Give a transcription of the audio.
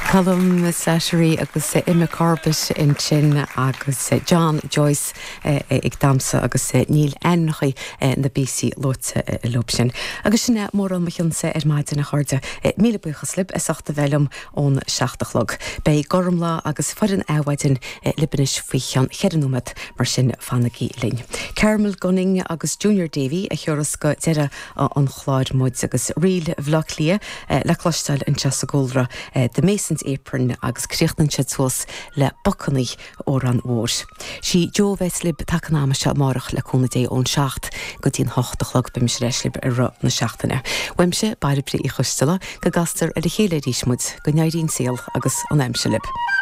Colm Slattery agus Emma Corbett ansin agus John Joyce ag damhsa agus níl ainmneacha na bpíosaí luaite leo sin. Agus sin é mórán mo chionn-sa ar maidin, a chairde. Míle buíochas libh as ucht a bheith liom ón 7 a chlog. Beidh Gormlaith agus foireann Adhmhaidin libh anois faoi cheann cheithre nóiméad, mar sin fanaigí linn. Carmel Gunning agus Junior Davey a thiúrfas go deireadh an chláir muid agus Ríl Bhaile Átha Cliath le cloisteáil anseo sa gcúlra, The Mason's Apron agus críochnaíonn siad suas le Bacannaí, amhrán mhór. Sí Jo a bheas libh taca an ama seo amárach le cúnamh Dé ón 7 go dtí an 8 a chlog. Beidh mise ar ais libh i rith na seachtaine. Uaimse, Bairbre Uí Choisteala, go gcastar ar a chéile arís muid, go n-éirí an saol agus an aimsir libh.